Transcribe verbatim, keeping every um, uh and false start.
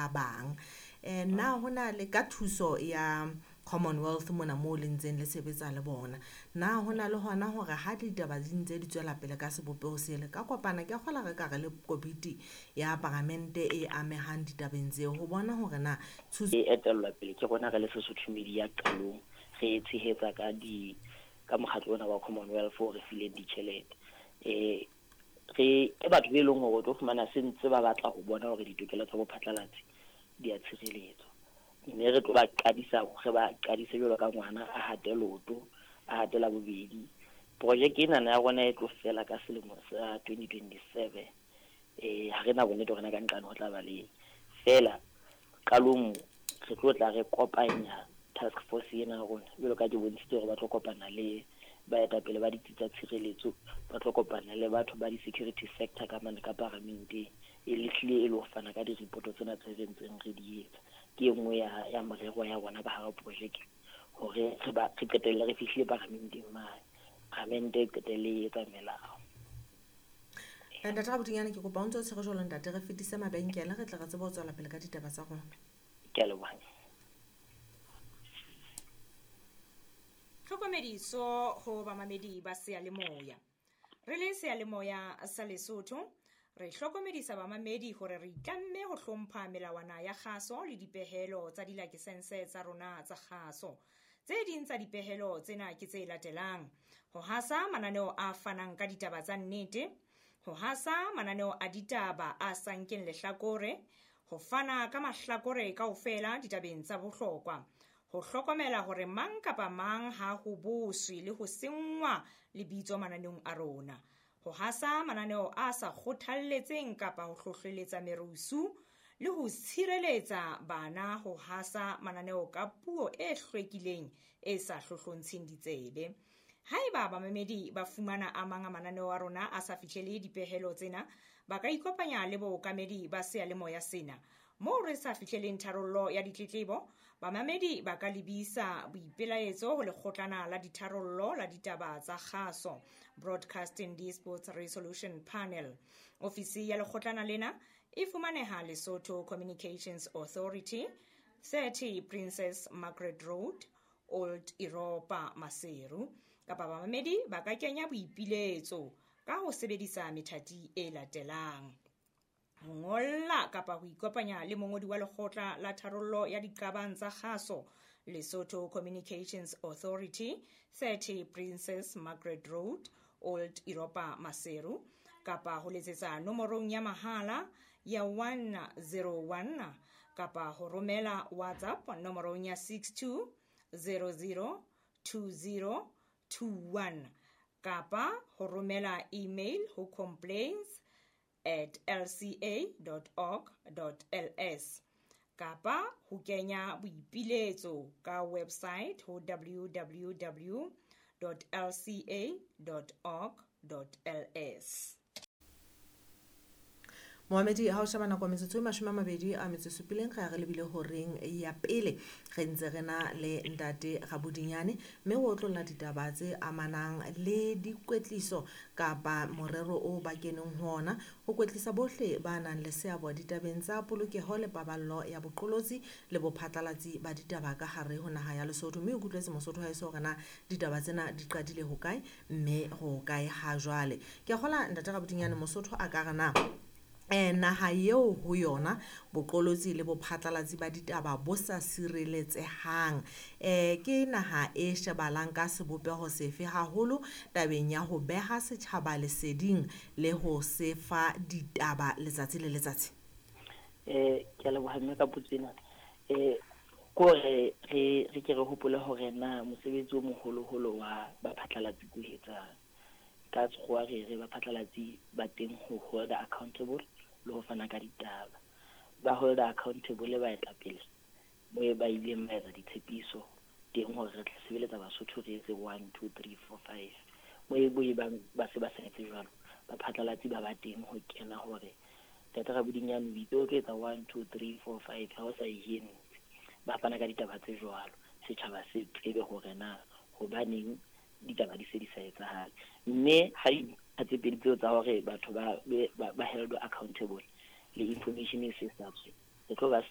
ba bang. Eh na hona le ka thuso ya Commonwealth mona moo le ntseng le sebetsa le bona, na hona le hona hore ha ditaba di ntse di tswela pele ka sebopeho sele ka kopana, ke a kgola re ka re le komiti ya paramente e amehang ditabeng tseo ho bona hore na thuso E etellwa pele ke rona re le Sesotho Media qalong, re e tshehetsa ka di ka mokgatlo ona wa Commonwealth o re fileng ditjhelete. Eh re ke batho be leng hore o tlo fumana se ntse ba batla ho bona hore ditokelo tsa bophatlalatsi di a tshireletswa. Mme re tlo ba qadisa, re ba qadise jwalo ka ngwana a hate loto, a hatela bobedi. Projeke ena ya rona e tlo fela ka selemo sa twenty twenty-seven. Eh ha re na bonnete hore na ka nqane ho tla ba le fela. Qalong re tlo tla re kopanya task force ena ya rona jwalo ka ke bontshitse hore ba tlo kopana le baetapele ba ditsi tsa tshireletso, ba tlo kopana le batho ba di-security sector ka mane ka paramenteng, e le hlile e le ho fana ka di-report tsena tse re ntseng re di etsa. Ke e nngwe ya, ya morero ya rona ka hara projeke hore re ba, re qetelle re fihlile paramenteng mane, paramente e qetelle e etsa melao. Ntate Rabodinyane, ke kopa o ntse o tshwere jwalo ntate, re fetise mabenkele re tle re tsebe ho tswela pele ka ditaba tsa rona. Ke a leboha. Tlhokomediso ho bamamedi ba seyalemoya. Re le seyalemoya sa Lesotho, re hlokomedisa bamamedi hore re itlamme ho hlompha melawana ya kgaso le dipehelo tsa dilakesense tsa rona tsa kgaso. Tse ding tsa dipehelo tsena ke tse latelang: ho hasa mananeo a fanang ka ditaba tsa nnete, ho hasa mananeo a ditaba a sa nkeng lehlakore, ho fana ka mahlakore kaofela ditabeng tsa bohlokwa, ho hlokomela hore mang kapa mang ha ho boswe le ho senngwa lebitso mananeong a rona, ho hasa mananeo a sa kgothalletseng kapa ho hlohleletsa merusu, le ho tshireletsa bana ho hasa mananeo ka puo e hlwekileng e sa hlohlontsheng ditsebe. Haeba bamamedi ba fumana a mang a mananeo a rona a sa fihlele dipehelo tsena, ba ka ikopanya le bookamedi ba seyalemoya sena. Moo re sa fihleleng tharollo ya ditletlebo, bamamedi ba ka lebisa boipelaetso ho lekgotlana la ditharollo la ditaba tsa kgaso, Broadcasting Disputes Resolution Panel. Ofisi ya lekgotlana lena e fumaneha Lesotho Communications Authority, thirty Princess Margaret Road, Old Europa, Maseru. Kapa bamamedi ba ka kenya boipiletso ka ho sebedisa methati e latelang: ho ngolla kapa ho ikopanya le mongodi wa lekgotla la tharollo ya diqabang tsa kgaso, Lesotho Communications Authority, thirty Princess Margaret Road, Old Europa, Maseru, kapa ho letsetsa nomorong ya mahala ya one zero one, kapa ho romela WhatsApp nomorong ya six two zero zero two zero two one, kapa ho romela email ho complaints at l c a dot org dot l s, kapa ho kenya boipiletso ka website ho w w w dot l c a dot org dot l s. Mohamedi, ha o sheba nako metsotso e mashome a mabedi a metso e supileng, re a re lebile horeng ya pele. Re ntse re na le ntate Rabodinyane, mme o otlolla ditaba tse amanang le dikwetliso kapa morero o ba keneng ho ona ho kwetlisa bohle ba nang le seabo ditabeng tsa polokeho le paballo ya boqolotsi le bophatlalatsi ba ditaba ka hare ho naha ya Lesotho. Mme o kutlwetse Mosotho haeso hore na ditaba tsena di qadile hokae mme ho kae ha jwale. Ke a kgola ntate Rabodinyane, Mosotho a ka re na eh naha eo ho yona boqolotsi le bophatlalatsi ba ditaba bo sa sireletsehang, eh ke naha e shebalang ka sebopeho sefe haholo tabeng ya ho beha setjhaba leseding le ho se fa ditaba letsatsi le letsatsi? Eh ke a leboha mme ka potso ena. Eh ko re re re ke re hopole hore na mosebetsi o moholoholo wa baphatlalatsi ko etsang. Ka tshwa re re baphatlalatsi ba teng ho hold accountable le ho fana ka ditaba. Ba hold accountable ba etapele mo ba ileng ba etsa ditshepiso teng hore re tla sebeletsa Basotho re etse one two three four five. Mo e bo bang ba se ba sa etse jwalo, baphatlalatsi ba ba teng ho kena hore Ntate Rabodinyane o itse o tlo etsa one two three four five, ha o sa e entse. Ba fana ka ditaba tse jwalo, setjhaba se tsebe hore na hobaneng ditaba di se di sa etsahale. Mme ha dintlha tse pedi tseo tsa hore batho ba ba, ba held accountable le information e se sa tswe, re tlo ba